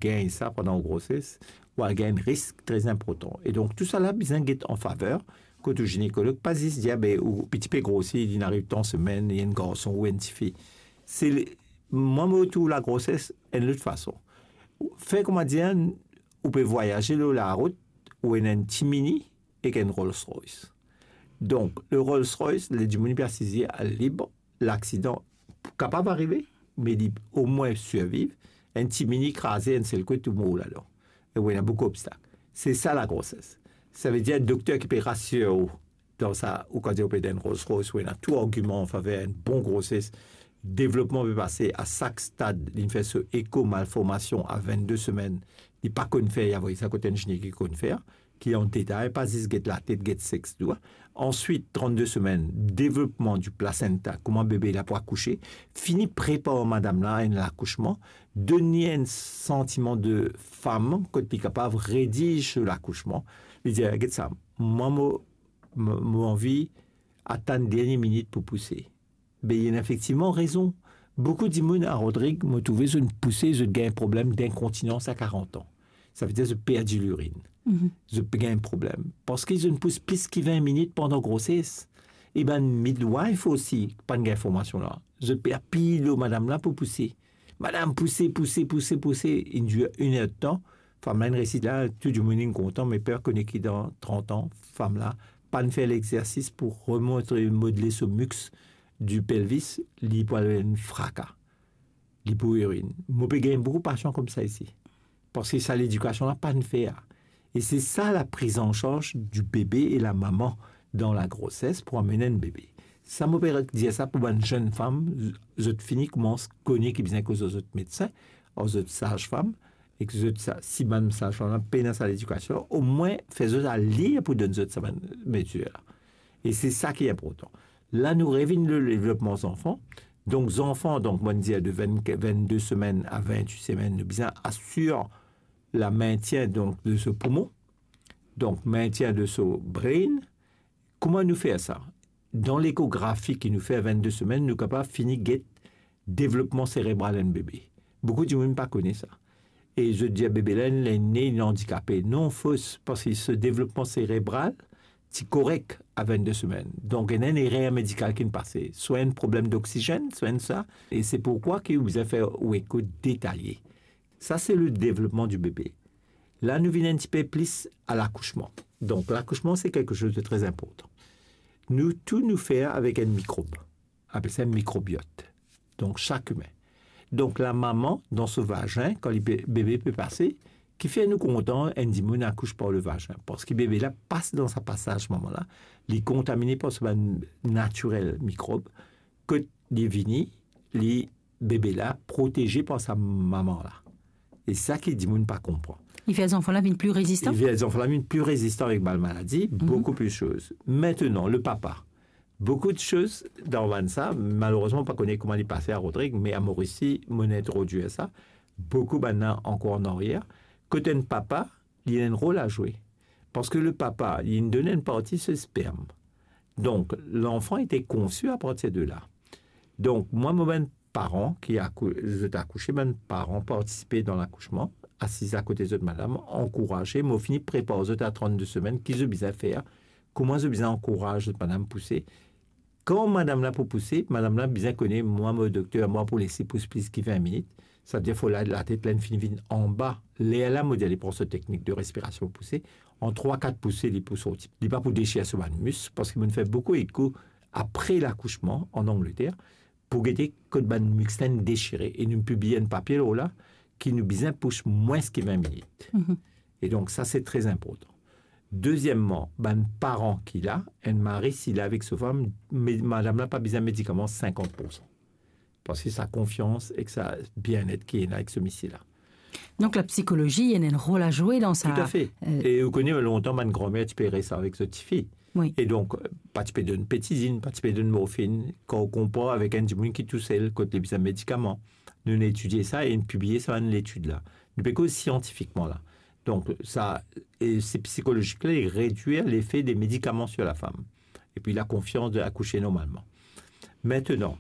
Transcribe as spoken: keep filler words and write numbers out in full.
gagn sa pandan ou groses, ou al gagn enn risk tre inportan. E donk, tousala bizin get an faver kot ou ginekolog, pa zis dir, "Be, ou piti pe grosi, li ariv tan semenn, li enn garson ou enn tifi." Se le, mwa, mo trouv lagroses enn lot fason. Fer, kouma dir, ou pe vwayaze lor larout, ou ena enn ti mini ek enn Rolls Royce. Donk, le Rolls Royce, le dimoun pe asize al lib, laksidan kapav arive, me li omwin sirviv, enn ti mini kraze, enn sel kout ou mor ladan. E ou ena boukou obstak. Se sa lagroses. Savedir, dokter ki pe rasir ou dan sa, ou kan dir ou pe dan enn Rolls Royce, ou ena tou argiman an faver enn bon groses, devlopman pe pase a sak stad, li fer so eko malformasion a vennde semenn, li pa konn fer, li avoy sa kot enn gine ki konn fer, ki an detay, pa zis get latet, get sex, tou. Answit, trannde semenn, devlopman di plasenta, kouma bebe la pou akouse, fini prepar madam la enn lakousman, donn li enn santiman de fam kot li kapav redir so lakousman. Li dir, "Get sa, mwa mo, mo, mo anvi atann dernie minit pou pouse." Be, li ena efektivman rezon. Boukou dimoun a Rodrig, mo trouve zot pouse, zot gagn problem dinkontinans a karant an. Savedir zot perdi lirinn. Mhm. Zot pe gagn problem. Parski zot pous plis ki vin minit pandan groses. E bann midwife osi, pa'nn gagn formasion la. Zot pe apiy lor madam la pou pouse. "Madam, pouse, pouse, pouse, pouse." Inn dir enn er de tan. Fam la inn resi la, tou dimoun inn kontan, me personn kone ki dan trant an, fam la pa'nn fer lexersis pou remont, remodle so muscle du pelvis, li pou al enn fraka. Li pou irin. Mo pe gagn boukou pasian koumsa isi. Parski sa ledikasion la pa'nn fer. E se sa la prise en charge du bébé et la maman dans la grossesse pou amenn enn bebe. Sa mo pe dir sa pou bann zenn fam, zot fini koumans kone ki bizin koz ar zot medsin, ar zot sazfam, e ki zot sa, si bann sazfam la pena sa ledikasion, omwin fer zot al lir pou donn zot sa bann medsin la. E se sa ki inportan. La nou revinn le devlopman zanfan. Donk zanfan, donk mo'nn dir de vinn, vennde semenn a vintwit semenn, nou bizin asir la mentien donk de so poumon, donk mentien de so brain. Kouma nou fer sa? Dan lekografi ki nou fer vennde semenn, nou kapav fini get devlopman serebral enn bebe. Boukou dimoun pa kone sa. E zot dir bebe la, li ne, li andikape. Non, fos, parski so devlopman serebral ti korek a vennde semenn. Donk, ena enn erer medikal ki'nn pase. Swa enn problem doksizenn, swa enn sa. E se pourkwa ki ou bizin fer ou eko detaye. Sa, se le devlopman di bebe. La, nou vinn enn tipe plis a lakousman. Donk, lakousman, se kelke soz de tre inportan. Nou tou nou fer avek enn mikrob. Apel sa mikrobiot. Donk, sak imin. Donk, lamama, dan so vazin, kan li be-, bebe pe pase, kifer nou kontan enn dimoun akous par le vazin? Parski bebe la pas dan sa pasaz mama la, li kontamine par so bann natirel mikrob, kot li vini, li, bebe la proteze par sa mama la. E sa ki dimoun pa konpran. Li fer zanfan la vinn pli rezistan? Li fer zanfan la vinn pli rezistan avek bann maladi, mhm, boukou plis soz. Aster, le papa. Boukou de soz dan bann sa, malerezman, pa kone kouma li pase a Rodrig, me a Moris, mo'nn introdwir sa, boukou bann la ankor an aryer. Kot enn papa, li ena enn rol a zwe. Parski le papa, li donn enn parti so sperm. Donk, lanfan ete konsi a partir de la. Donk, mwa, mo bann paran ki akou-, zot akouse, bann paran partisipe dan lakousman, asiz akote zot madam, ankouraze, mo fini prepar zot a trannde semenn, ki zot bizin fer, kouma zot bizin ankouraz zot madam pouse. Kan madam la pou pouse, madam la bizin kone, mwa, mo dokter, mwa pou les li pous plis ki vin minit, savedir fo la, latet la inn fini vinn anba. Lerla, mo dir, li pran so teknik de respirasion pouse, an trwa, kat pouse, li pou sorti. Li pa pou desir so bann mis, parski mo'nn fer boukou eko apre lakousman an Angleter, pou gete kot bann mis la inn desire, e nou pibliye enn papie lor la, ki nou bizin pous mwins ki vin minit. Mhm. E donk, sa, se tre inportan. Dezieman, bann paran ki la, enn mari, si li avek so fam, me-, madam la pa bizin medikaman sinkant poursan. Parski sa konfians ek sa bienet ki ena ek so misie la. Donk, lapsikolozi, li ena enn rol a zwe dan sa. Toutafe. Euh, e ou kone, lontan, bann granmer ti pe res avek zot tifi. Wi. E donk, pa ti pe donn petizinn, pa ti pe donn morfinn, kan ou konpar avek enn dimoun ki tousel, kot li bizin medikaman. Nou'nn etidie sa e nou'nn pibliye sa bann letid la. Nou pe koz siantifikman la. Donk, sa, e se psikolozik la, li redwir lefe de medikaman sir lafam. Epi lakonfians de akouse normalman. Aster, donk,